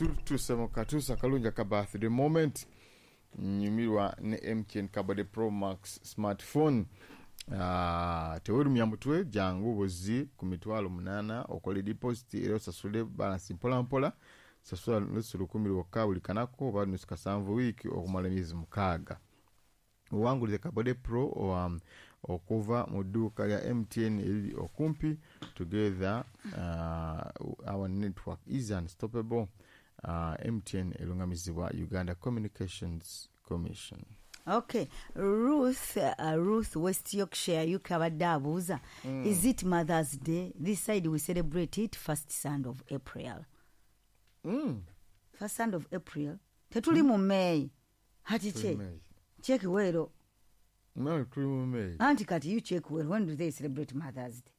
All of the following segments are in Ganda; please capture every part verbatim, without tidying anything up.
Tutuuse mu katuusa akalungi aka birthday moment. Nyumirwa ne M T N Kabade Pro Max smartphone. Uh, tewerumya mutwe, jangu buzi ku mitwalo munaana okole deposit era osasule balance mpola mpola. Sasula nusu lukumi lwokka buli kanaku oba nusu kasanvu wiiki okumala emyezi mukaaga. Owangulize Kabode Pro um, okuva mu dduuka lya M T N eriri okumpi. Together uh, our network is unstoppable. uh, M T N erungamizibwa Uganda Communications Commission. Okay, Ruth, uh, Ruth, West Yorkshire, U K, abadde abuuza, mm. "Is it Mother's Day? This side we celebrate it first Sunday of April." mm. First Sunday of April, tetuli mu May hati? Tuli Che May. Check well. No, tuli mu May. Anti kati you check well, when do they celebrate Mother's Day?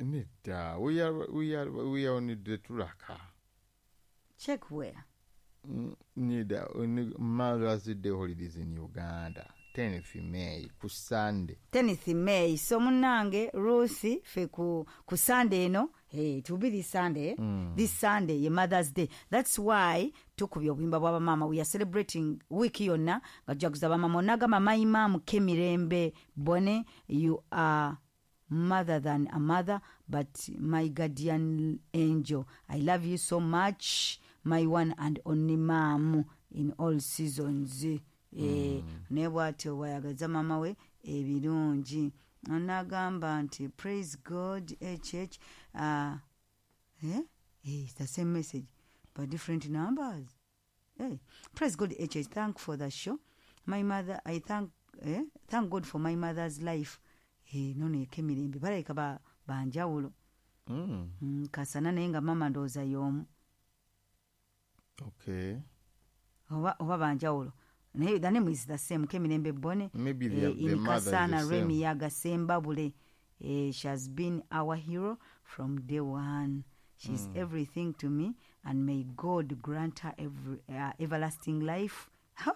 Nedda, we are, we are, we are on the tulaka. Check where. Mm, nedda, only Mother's Day holidays in Uganda, tenth May, ku Sunday. tenth May. So munange Ruth, fe ku, ku Sunday eno, hey, it will be this Sunday. Mm. This Sunday ye Mother's Day. That's why tukubye obuyimba bw'abamaama. We are celebrating week yonna nga tujaguza bamaama. Onagamba, "My mom Kemirembe Bone, you are mother than a mother, but my guardian angel. I love you so much, my one and only mom in all seasons." Eh, naye bwatyo bwayagaza maama we ebirungi. Onagamba nti, "Praise God H H." uh, eh? Eh, it's the same message but different numbers. Hey. "Praise God H H, thank for the show. My mother, I thank, eh? Thank God for my mother's life." Eh, nono ekemirembe balabika ba- banjawulo. mm. mm, kasana naye nga mama ndowooza y'omu. Okay oba, oba banjawulo, naye the name is the same, Kemirembe Bone. Maybe the, eh, the in mother is Kasana. the same. Remi Yagasembabule, eh, she has been our hero from day one. She's mm. everything to me and may God grant her every, uh, everlasting life. Huh?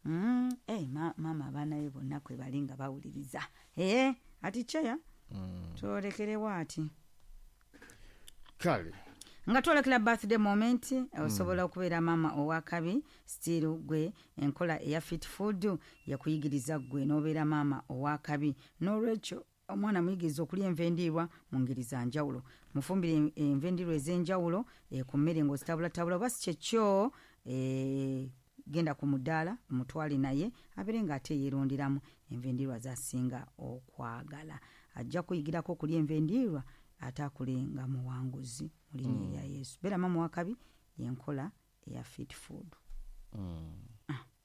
mm. hey, ma, mama abaana be bonna kwe bali nga bawuliriza. Eh, ati kyeya mm. twolekerewo ati. Kale. Nga twolekera birthday moment, osobola okubeera maama owakabi still. Gwe enkola eya Fit Food yakuyigiriza gwe n'obeera maama owakabi. N'olwekyo omwana muyigiriza okulya enva endiirwa mu ngeri za njawulo. Mufumbire enva endiirwa ez'enjawulo eh, ku mmere ng'ozitabulatabula, oba si kyekyo, eh, genda ku mudaala omutwale naye abeere ng'ate yeeronderamu enva endiirwa z'asinga okwagala. Ajja kuyigirako okulya enva endiirwa ate akule nga muwanguzi mu linnya erya Yesu. Beera maama wakabi, yenkola eya Fit Food. mm.